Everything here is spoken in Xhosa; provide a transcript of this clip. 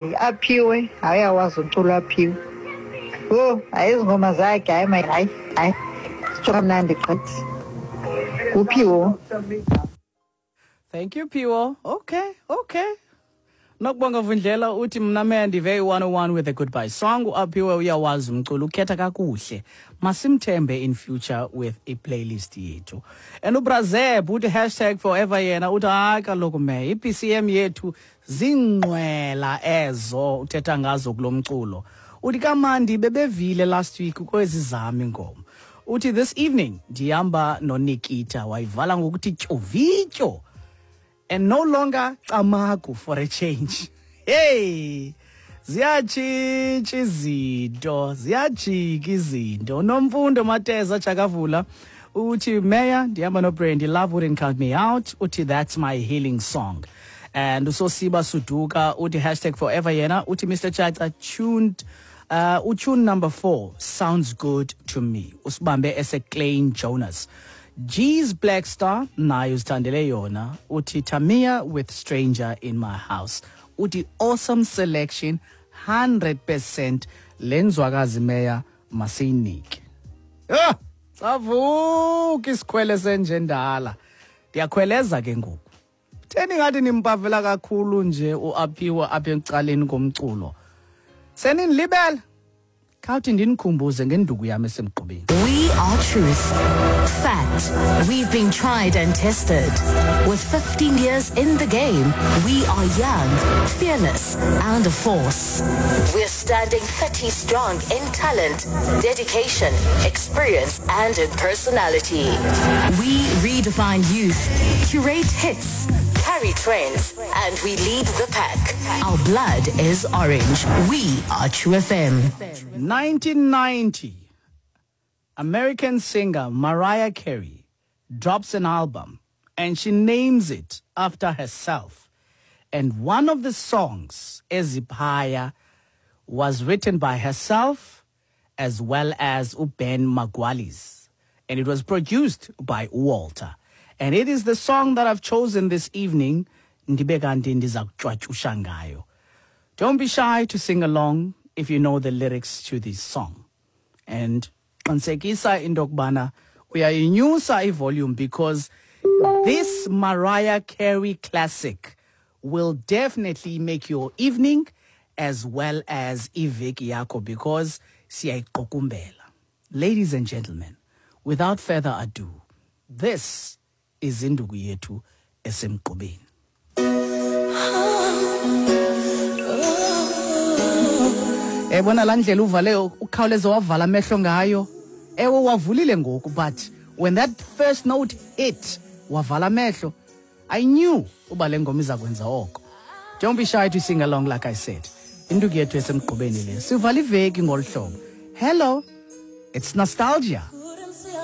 Aphiwe, hayi awazi umculo aphiwe. Yho, hayi ezi ngoma zakhe, hayi my hayi, hayi. Sitsho kamnandi gqithi. Nguphiwo. Thank you Phiwo. Okay. Nokubonga Vundlela uthi mna me ndive i-101 with a goodbye song. Uaphiwe uyawazi umculo, ukhetha kakuhle. Masimthembe in future with i-playlist yethu. And uBrazeb uthi hashtag forever yena uthi hayi kaloku me i-BCM yethu zingqwela ezo uthetha ngazo kulo mculo. Uthi kamandi bebevile last week kwezi zam ingoma. Uthi this evening ndihamba noNikita, wayivala ngokuthi tyovityo and no longer camagu for a change. Hey, ziyatshintsha izinto, ziyajika izinto. Nomfundo Mateza Chakavula uthi Meya ndihamba noBrandy, love wouldn't count me out. Uthi that's my healing song. And uSosiba Suduka uthi hashtag forever yena uthi Mr Chacha tuned utune number 4 sounds good to me. Usibambe ese Klein Jonas. G's Black Star nayo uzithandele yona uthi Tamia with Stranger in My House. Uthi awesome selection 100% lenzwakazi meya masiyinike. Ah, savuka isikhwele senjendala. Ndiyakhweleza ke ngoku. Theni ngathi nimpavela kakhulu nje uAphiwe apha ecaleni komculo. Seninilibele. Khawuthi ndinikhumbuze ngenduku yami esemgqubeni. We are truth. Fact. We've been tried and tested. With 15 years in the game, we are young, fearless, and a force. We're standing 30 strong in talent, dedication, experience, and in personality. We redefine youth, curate hits, carry trends, and we lead the pack. Our blood is orange. We are True FM. 1990, American singer Mariah Carey drops an album and she names it after herself. And one of the songs, Eziphaya, was written by herself as well as Ben Margulies. And it was produced by Walter. And it is the song that I've chosen this evening. Ndibe kanti ndiza kutywatyusha ngayo. Don't be shy to sing along if you know the lyrics to this song. And qinisekisa into yokubana uyayinyusa ivolume, because this Mariah Carey classic will definitely make your evening as well as iveki yakho, because siyayiqukumbela. Ladies and gentlemen, without further ado, this is induku yethu esemgqubeni. Ebona laa ndlela uvale ukhawuleze wavala amehlo ngayo. Ewe, wavulile ngoku, but when that first note hit, wavala amehlo. I knew uba le ngoma iza kwenza oko. Don't be shy to sing along, like I said. Induku yethu esemgqubeni le. Sivala iveki ngolu hlobo. Hello, it's nostalgia.